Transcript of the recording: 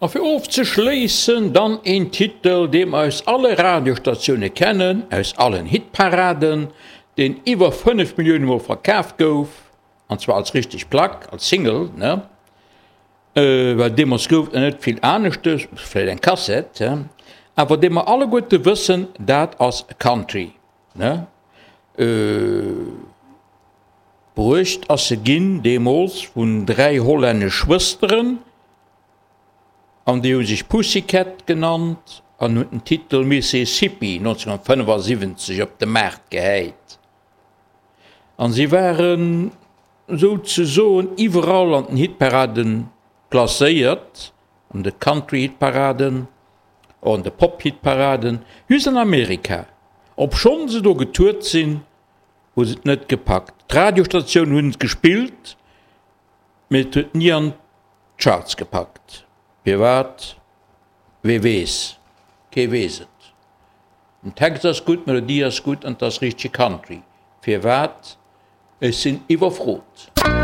A fir ofzeschléissen dann een Titel, dee mer aus alle Radiostatioune kennen, aus allen Hitparaden, deen iwwer 5 Millioune mol verkaf gouf, an zwar als richteg Plack, als Single, ne? Well deemools gouf et nach net vill aneschtes, vläicht eng Kassett, awer dee mer alleguerte wëssen, dat ass Country, ne? Bruecht ass se ginn deemools vun 3 hollännesch Schwësteren, An déi hu sech Pussycat genannt an hunn den Titel Mississippi 1975 op de Maart gehäit. An si waren souzesoen iwwerall an den Hitparaden placéiert, an de Country-Hitparaden, och an de Pop-Hitparaden, just an Amerika, obschonn se do getourt sinn, hu se et net gepackt. D'Radiostatiounen hunn et gespillt, mee et huet ni an d'Charts gepackt. Firwat? Wee weess? Kee weess et. Den Text ass gutt, d'Melodie ass gutt an et ass richtege Country. Firwat? Ech sinn iwwerfrot.